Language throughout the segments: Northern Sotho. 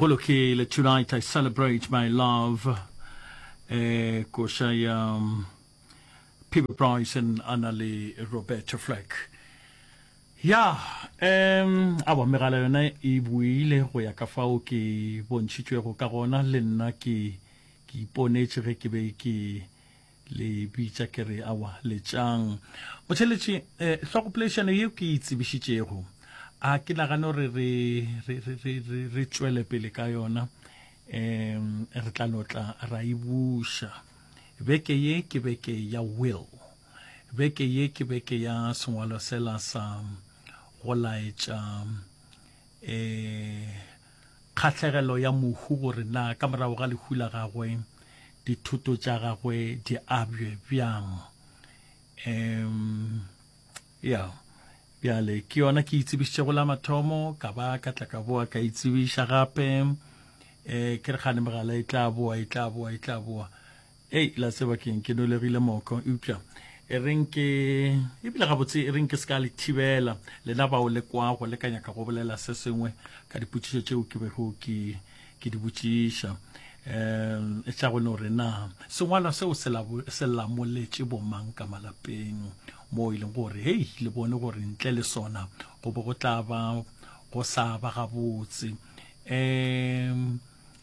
Go lokile, Tonight I Celebrate My Love, eh, koša ya um, Peabo Bryson a na le Roberta Flack. Ya, um, awa megala yona e buile go ya ka fao ke bontšhitšwego ka gona, le nna ke ke iponetše ge ke be ke Le bitša ke re, Awa, letšang. Motheeletši, eh, hlogopoledišano yeo ke e tsebišitšego, a ke nagane gore re, re, re, re, re, re tšwele pele ka yona. Um, re tla no tla ra e buša. Beke ye ke beke ya will. Beke ye ke beke ya sengwalo sela sa go laetša eh Kgahlegelo ya mohu gore na ka morago ga lehu la gagwe dithoto tša gagwe di abjwe bjang. Um, ya, bjale ke yona ke itsebišitšego la mathomo, ka ba ka tla ka boa ka itsebiša gape. Um, ke re gane megala e tla boa, e tla boa, e tla boa. Ei, la tseba keng, ke nolegile moko, eupša e reng ke, ebile gabotse e reng ke se ka le thibela, lena bao le kwago le ka nyaka go bolela se sengwe ka dipotšišo tšeo ke bego ke, ke di botšiša. Um, tša go no re na sengwalwa seo se, se lamoletše bomang ka malapeng, moo e leng gore, hei, le bone gore ntle le sona go be go tla ba go sa ba gabotse. Um,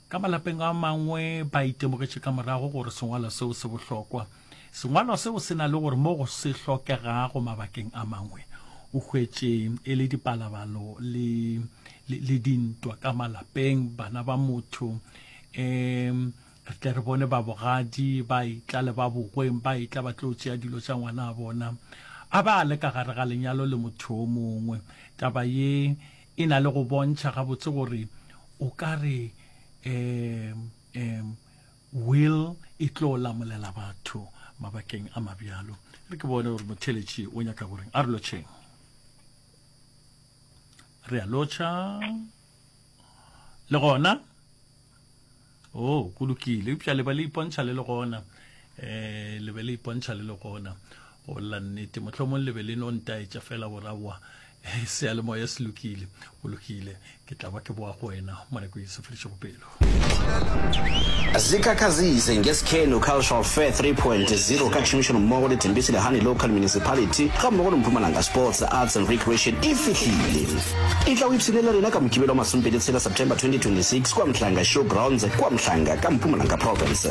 Ka malapeng a mangwe ba itemogetše ka morago gore sengwalwa seo se bohlokwa. Sengwalwa seo se na le gore mo go se hlokegago mabakeng a mangwe o hwetše e le dipalabalo le, le, le dintwa ka malapeng, bana ba motho. Um re tle re bone ba bogadi ba etla le ba bogweng ba etla ba tlo tšea dilo tša ngwana a bona a ba a le ka gare ga lenyalo le motho o mongwe. Taba ye E na le go bontšha gabotse gore o ka re um um will e tlo lamolela batho mabakeng a mabjalo. Re ke bone gore motheletši o nyaka goreng. A re lotšheng. Re a lotšha. Le gona? Oh, go lokile. Eupša le ba le ipontšha le le gona. Eh, le be le ipontšha le le gona. Go bolela nnete, mohlomong le be le no ntaetša fela gore aowa, eh, seyalemoya se lokile. Go lokile. Ke tla ba ke boa go wena mo nako e se fedišego pelo. Zikhakhazise ngesikhenu Cultural Fair 3.0 ka tšhomišanommogo le Thembisile Hani Local Municipality gammogo le Mpumalanga Sports, Arts and Recreation e fihlile. Etla o ipshine le rena ka Mokibelo wa masomepedi tshela September 2026 kua Mhlanga Show Grounds kua Mhlanga ka Mpumalanga Province.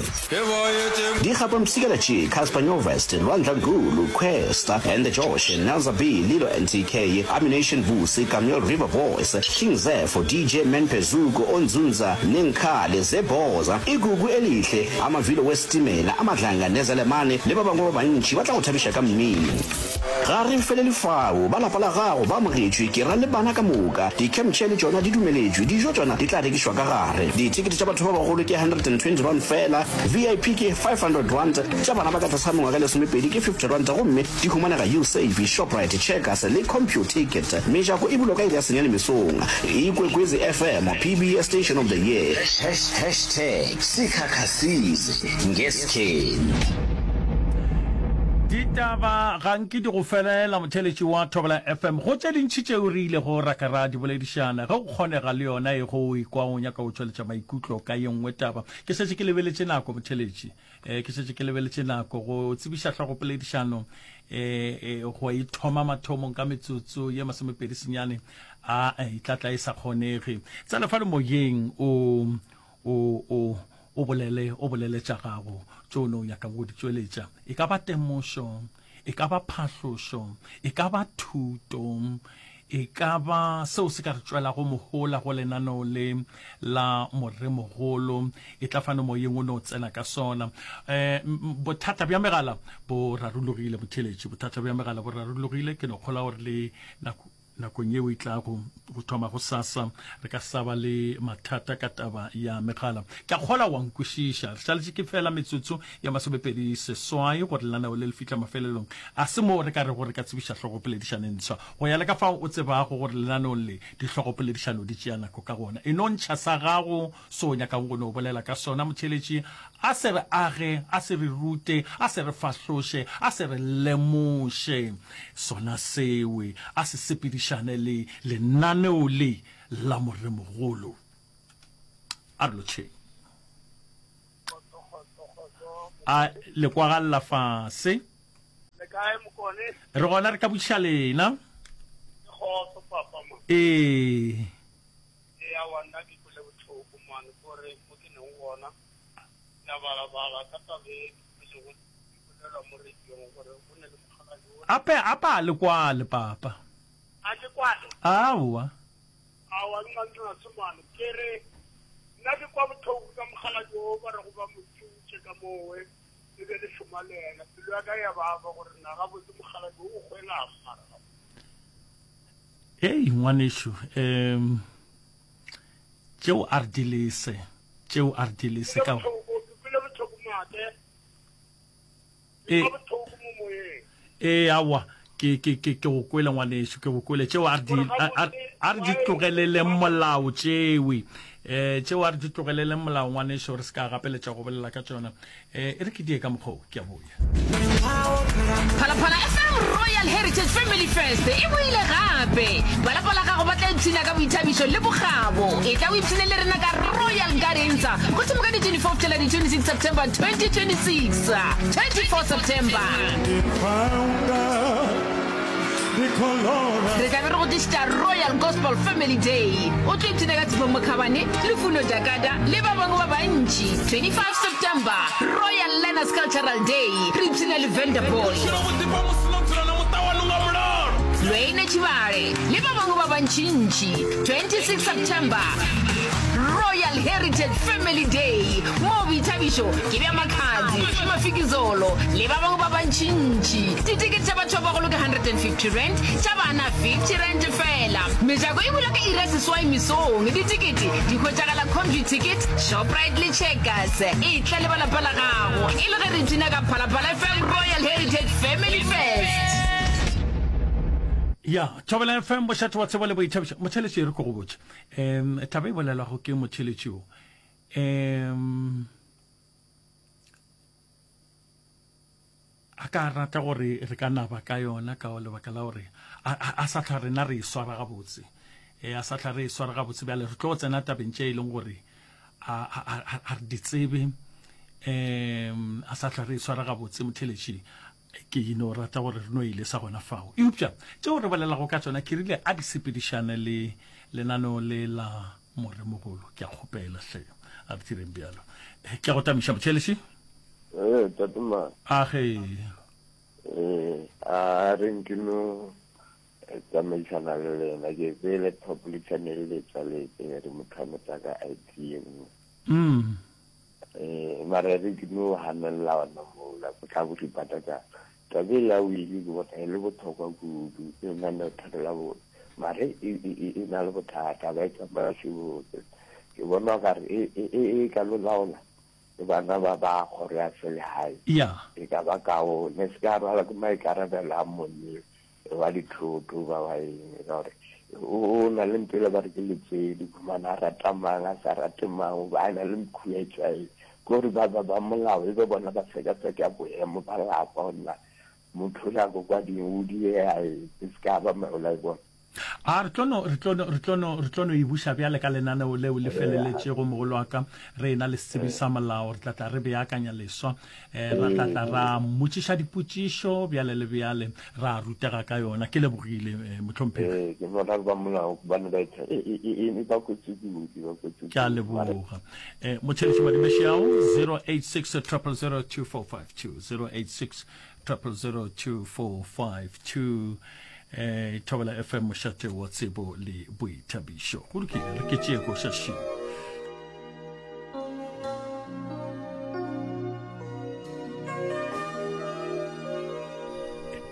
Dikgapa mpshikela tše, Cassper Nyovest, Lwandla Gulu, Kwesta and the Josh, Nelza B, Lilo NTK, Ammunition Vusi, Kameel River Boys, King Zefo, DJ Man Phezuko, Onzunza, Nenkhale, Zebhoza, Igugu Elihle, Amavilo Wesitimela, Amadlanga Nezelemane le ba bangwe ba bantši ba tla go thabiša ka mmino. Ga re felele fao, ba lapa la gago ba amogetšwe, ke ra le bana ka moka. Di-camp chair le tšona di dumeletšwe, dijo tšona di tla rekišwa ka gare. Dithekete tša batho ba bagolo ke R120 feela, VIP ke R500, tša bana ba ka tlase ga mengwaga e lesomepedi ke R50 gomme di humanega Usave, Shoprite, Checkers le Computicket. Mejako e bulwa ka iri ya senyane mesong. Ikwekwezi FM, PBS Station of the Year. Hashtag Sikhakhasize ngesikhenu. Ditaba ga nke di go felela, motheeletši wa Thobela FM. Go tše dintši tšeo re ilego ra ka ra di boledišana, ge go kgonega le yona e go o ikwa o nyaka go tšweletša maikutlo ka ye nngwe taba. Ke šetše ke lebeletše nako, motheeletši. Eh, ke šetše ke lebeletše nako go tsebiša hlogopoledišano eh, eh, go e thoma mathomong ka metsotso ye masomepedi senyane a e tla tla e sa kgonege. Tsena fale moyeng o o, o, o bolele, o bolele tša gago, tše o no nyakang go di tšweletša. E ka ba temošo, e ka ba phahlošo, e ka ba thuto, e ka ba seo se ka re tšwelago mohola go lenaneo le la Moremogolo. E tla fano moyeng o no tsena ka sona. Um, bothata bja megala bo rarologile, motheeletši, bothata bja megala bo rarologile. Ke no kgolwa gore le nako Nakong yeo e tlago go thoma gosasa, re ka sa ba le mathata ka taba ya megala. Ke a kgolwa wa nkwešiša. Re šaletše ke feela metsotso ya masomepedi seswai gore lenaneo le le fihla mafelelong. A se moo re ka rego re ka tsebiša hlogopoledišano e ntshwa. Go ya le ka fao o tsebago gore lenaneong le dihlogopoledišano di tšea nako ka gona. E no ntšha sa gago se o nyakago go no bolela ka sona. Motheeletši a se re age, a se re rute, a se re fahloše, a se re lemoše sona sewe, a se sepedišane le lenaneo le la Moremogolo. A re lotšheng. A le kwagalla fase. Le kae Mokone? Re gona re ka botšiša lena. Ke kgotso papa man. Ee. Ee aowa nna ke kwele bohloko man kore mo ke leng gona ke a bala bala ka taba e ke kwelego e bolelwa mo radiong gore go ne le mokgalabje o Ape apa a le kwale papa. A ke kwale? Aowa. Aowa nna nna se man ke re nna ke kwa bohloko ka mokgalabje o ba rego ba mo thutše ka mowe e be le šoma le yena pelo ya ka ya baba gore na gabotse mokgalabje o hwelang mara gabotse. Hei ngwanešu um tšeo a re di lese tšeo a re di lese ka e e awa ke ke ke ke go kwele ngwanešu ke go kwele tšeo a re di a re di tlogeleleng molao tšewe eh tšeo a re di tlogeleleng molao ngwanešu re se ka gapeletša go bolela ka tšona Eh, e re ke die ka mokgwa o, ke a boya. Phalaphala FM Royal Heritage Family Fest e boile gape. Ba lapa la gago ba tla ipshina ka boithabišo le bokgabo. Etla o ipshine le rena ka Royal Gardens go thoma ka di 24 go fihlela di 26 September 2026. 24 September. Re tla be re go tlišetša Royal Gospel Family Day. O tlo ipshina ka Tshepo Mokhabane, Lufuno Dakada le ba bangwe ba bantši. 25 September, Royal Learners Cultural Day, re ipshina le Vanderboy, Lwene Tshibale le ba bangwe ba bantšintši. 26 September, Royal Heritage Family Day, moo boithabišo ke bja Makhadzi, Mafikizolo le ba bangwe ba bantšintši. Ditekete tša batho ba bagolo ke R150, tša bana R50 feela. Mejako e bula ka iri ya seswai mesong. Ditekete di hwetšagala Computicket, Shoprite le Checkers. Etla le ba lapa la gago e le ge re ipshina ka Phalaphala FM Royal Heritage Family Fest. Ya, Thobela FM, mošate wa tsebo le boithabišo. Motheeletši, e re ke go botše. Um, taba e bolelwago ke motheeletši wo. Um, a ka rata gore re ka naba ka yona ka lebaka la gore a sa tlhwa rena re e swara gabotse e a sa tlhwa re e swara gabotse bjale re tlo tsena tabeng tše e leng gore a re di tsebe um a sa tlhwa re e swara gabotse motheletši ke no rata gore re no ile sa gona fao eupša tšeo re bolelago ka tsona ke rile a di sepedišane le lenaneo le la Moremogolo, ke a kgopela hle, a re direng bjalo. Ke a go tamiša motheeletši. Ee, tate ma. A ge. Ee, a re nke no tsamaisana le lena ke pele top le channel le tswaletse re motho a motsa ka IT e nngwe. Mm. Eh, mara re ke no hanelela ona mola go tla go ripata ka Taba e ya wili ke bona e le bohlokwa kudu, e lenaneo-thero la bone, mare e, e, e, e na le bothata, ba e tsamaya se botse. Ke bona o kare e, e, e, e ka lo laola ke bana ba ba kgoro ya selegae. Ya. E ka ba kaone, se ka rwala ke maikarabelo a monni wa dithoto ba wa eng, ka gore o, o na le ntho e le ba re ke letswedi, khumana a rata mang, a sa rate mang, o ba a na le mkhuetšwa eng. Ke gore ba ba ba molao e be bona ba sekaseka boemo ba lapa gore na motho o nyako kwa ding o diea eng, e se ka ba mehola e bona. A re tlo no, re tlo no, re tlo no, re tlo no e buša bjale ka lenaneo leo le feleletšego, mogolo wa ka, re ena le setsebi sa molao, re tla tla re beakanya leswa, eh, ra tla tla ra mmotšiša dipotšišo bjale le bjale, ra rutega ka yona. Ke lebogile, eh, mohlomphegi. Ee, ke bona ba molao gobane ba e, e, e, e ba kotsi kudu, ba kotsi Ke a kudu. Mare leboga. Eh, motšheletši Madimešiao, 086 000 2452, 086 000 2452. Eh, Thobela FM mošate wa tsebo le boithabišo. Go lokile, re ke tšee koša šio.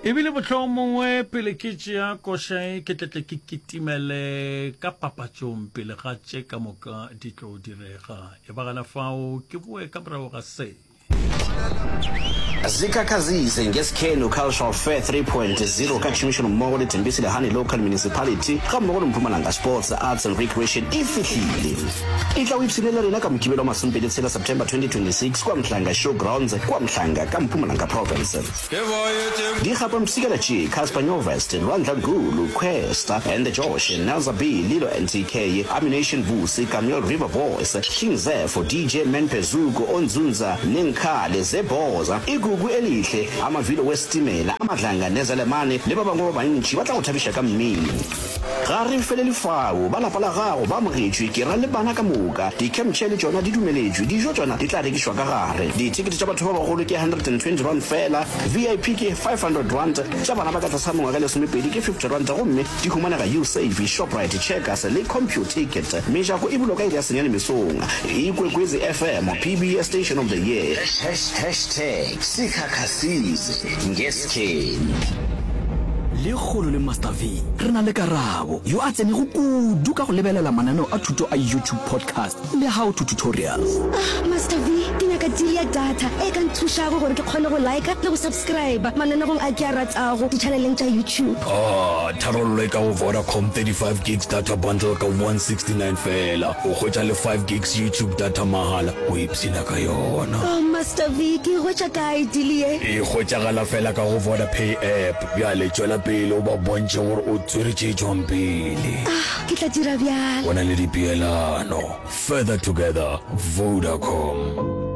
Ebile mohlomongwe pele ke tšea koša e ke tletle ke kitimele ka papatšong pele ga tše ka moka di tlo direga. E ba gana fao ke boe ka morago ga se. Zikhakhazise ngeSikhenu Cultural Fair 3.0 ka tšhomišanommogo le Thembisile Hani Local Municipality gammogo le Mpumalanga Sports, Arts and Recreation e fihlile. Etla o ipshine le rena ka Mokibelo wa masomepedi tshela September 2026 kua Mhlanga Show Grounds kua Mhlanga ka Mpumalanga Province. Di gapa mpshikela tše, Cassper Nyovest, Lwandla Gulu, Kwesta and the Josh, Nelza B, Lilo NTK, Ammunition Vusi, Kameel River Boys, King Zepho, DJ Menpe Zuko, Onzunza, Nenkhale, Zebhoza, Igugu Elihle, Amavilo Wesitimela, Amadlanga Nezelemane le ba bangwe ba bantši ba tla go thabiša ka mmino. Ga re felele fao, ba lapa la gago ba amogetšwe, ke ra le bana ka moka. Di-camp chair le tšona di dumeletšwe, dijo tšona di tla rekišwa ka gare. Dithekete tša batho ba bagolo ke R120 feela, VIP ke R500, tša bana ba ka tlase ga mengwaga e lesomepedi ke R50 gomme di humanega Usave, Shoprite, Checkers le Computicket. Mejako e bulwa ka iri ya senyane mesong. Ikwekwezi FM, PBS Station of the Year. Hashtag Sikhakhasize ngeSkheni. Lekgolo le Master V re na le Karabo, yo a tsenego kudu ka go lebelela mananeo a thuto a YouTube podcast le how to tutorials. Ah, Master V, ke nyaka deal ya data e ka nthušago gore ke kgone go liker le go subscriber mananegong a ke a ratago di-channeleng tša YouTube. Ah, tharollo e ka go Vodacom 35 gigs data bundle ka 169 feela. O hwetša le 5 gigs YouTube data mahala o ipshina ka yona. Oh, Master V, ke e hwetša kae deal ye? E hwetšagala feela ka go Vodapay app. Bjale tšwela pele o ba bontšhe gore o tswere tše tšwang pele. Ah, ke tla dira bjalo. Go na le dipeelano. Further together, Vodacom.